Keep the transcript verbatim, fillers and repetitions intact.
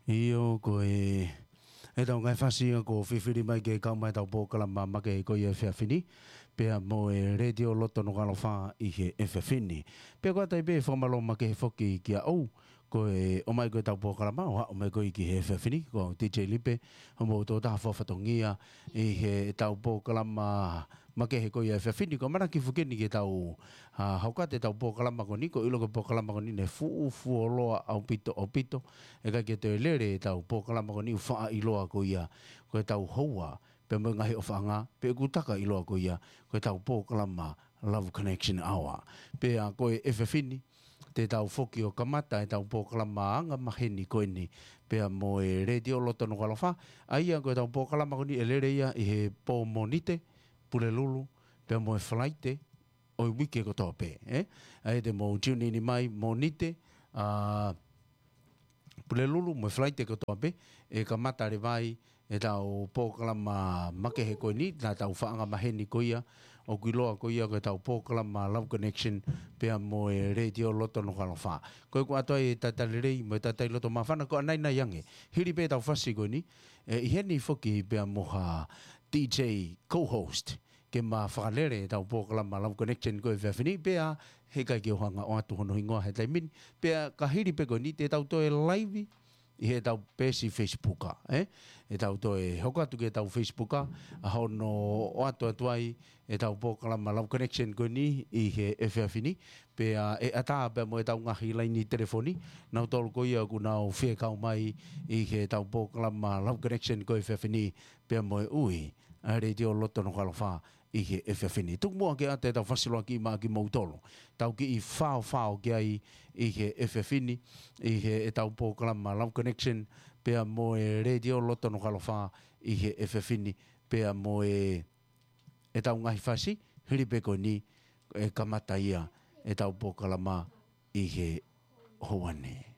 ʻIo, ko e, ʻetau ngaahi fasi ia kuo fifili mai ke kau mai ʻetau polokalama makehe ko ia he efiafi ni, pea mo e Letiō Loto Nukuʻalofa ʻi he efiafi ni. Pea ko ia ai pē fakamālō makehe foki kiate koe, ʻomai ko ē ʻetau polokalama, ʻo aʻu mai ko ē ki he efiafi ni, ko au D J Lipe, hoʻomou tokotaha fakafatongia ʻi heʻetau polokalama makehe ko ia he efiafi ni. Ko e ʻamanaki foki eni ke tau, ʻa, hoko atu ʻetau polokalama ko eni, ko e ʻilo ko e polokalama ko eni naʻe fuʻu fuoloa ʻaupito, ʻaupito, ʻikai ke toe lele ʻetau polokalama ko eni ʻo faʻa ʻiloa ko ia ko ʻetau houa, pea mo e ngaahi ʻofaʻanga, pea ʻoku taka ʻiloa ko ia ko ʻetau polokalama Love Connection Hour. Pea ko e efiafi ni, te tau foki ʻo kamata ʻetau polokalama angamaheni ko eni, pea mo e Letiō Loto Nukuʻalofa, ʻa ia ko ʻetau polokalama ko eni ʻe lele ia ʻi he pō Mōnite, Pulelulu, pea mo e Falaite ʻo e uike kotoa pē, ē? ʻA ia te mou tune in mai Mōnite, ʻa, Pulelulu mo e Falaite kotoa pē, ʻe kamata leva ai ʻetau polokalama makehe ko eni, naʻa tau faʻa angamaheni ko ia, ʻoku ʻiloa ko ia ko ʻetau polokalama Love Connection, pea mo e Letiō Loto Nukuʻalofa. Ko ia ʻoku ʻoatu ai e talitali lelei mo e talitali loto māfana, ko e ʻanainai ange. Hili pē ʻetau fasi ko eni, ʻe ʻi heni foki pea mo ha D J co-host ke ma fakalele ʻetau polokalama Love Connection ko e efiafi ni, pea heʻikai ke u hanga ʻo ʻoatu hono hingoa he taimi ni, pea ka hili pē ko eni te tau toe live ʻi heʻetau peesi Facebook, ē? ʻE tau toe hoko atu ki heʻetau Facebook, ʻa hono ʻoatu atu ai ʻetau polokalama Love Connection ko eni ʻi he efiafi ni, pea ʻe ʻatā pea mo ʻetau ngaahi laini telefoni, nautolu ko ia ʻoku nau fie kau mai ʻi heʻetau polokalama Love Connection ko e efiafi ni, pea mo e ui ʻa e Letiō Loto Nukuʻalofa ʻi he efiafi ni. Tuku muʻa ke ʻoatu ʻetau fasiloaki maʻa kimoutolu. Tau kiʻi faofao ki ai ʻi he efiafi ni, ʻi heʻetau polokalama Love Connection, pea mo e Letiō Loto Nukuʻalofa ʻi he efiafi ni, pea mo e, ʻetau ngaahi fasi, hili pē ko eni, ʻe kamata ia ʻetau polokalama ʻi he houa ni.